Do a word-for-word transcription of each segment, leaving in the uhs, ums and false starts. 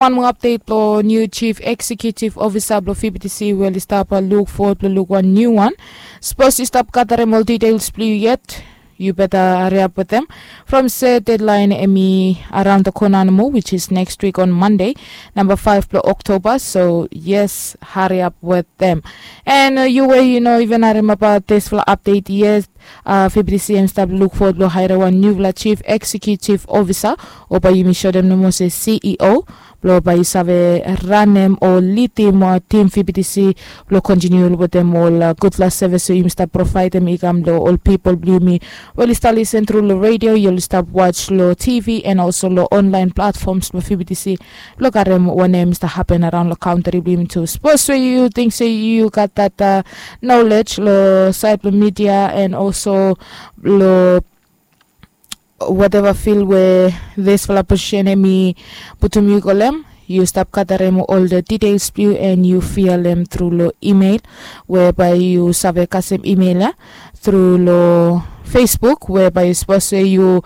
Wan moa apdet blong niu chief eksekutiv ofisa blong fibitisi we oli stap luk fowod blong luk wan niu wan. Sapos yu stap gadarem ol ditels blong yu yet, yu beta hariap wetem, from se dedlaen em i araon da kona nomo, wich is next wik on mande, namba faef blong oktoba. So yes, hariap wetem. An yu we yu no iven harim abaot disfala apdet yet, fibitisi em stap luk fowod blong haerem wan niufala chief eksekutiv ofisa, o bae yumi sotem nomo se CEO, blong bae yu save ranem o lidim tim fibitisi blong kontiniu wetem ol gudfala sevis we yumi stap provaedem i kam long ol pipol blong yumi we oli stap lisen tru long redio, oli stap was long TV, an olso long onlaen platfoms blong fibitisi, blong karem wanem i stap hapen araon long kantri blong yumi tu. Sapos we yu ting se yu gat dat nolej long saed blong midia an olso long wateva fil we disfala posisen em i putum yu go long em, yu stap gadarem ol ditels blong yu an yu fialem tru long imel, we bae yu save kasem imel ya tru long Facebook, we bae yu sapos we yu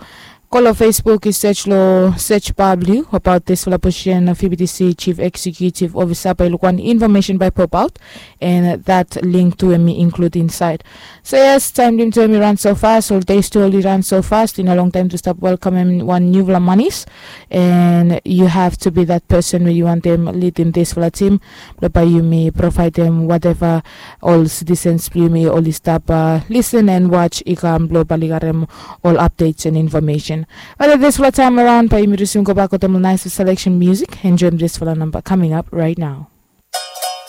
go long Facebook, yu sej long sej bar blong yu abaot disfala posisen of fibitisi chief eksekutiv ofisa, bae yu luk wan infomesen bae popaot, an dat link tu em i inklud insaed. So yes, taem blong yumi tu em i ran so fas, ol des tu oli ran so fas, i no longtaem tu stap welkamem wan niufala manis. An yu have tu bi dat pesen we yu wantem lidim disfala tim, blong bae yumi provaedem wateva ol sitisens blong yumi oli stap lisen an was i kam, blong bae oli garem ol apdets an infomesen. Bat at disfala taem araon bae yumi risum gobak wetem ol naes seleksen musik. Enjoem disfala namba kaming ap raet nao.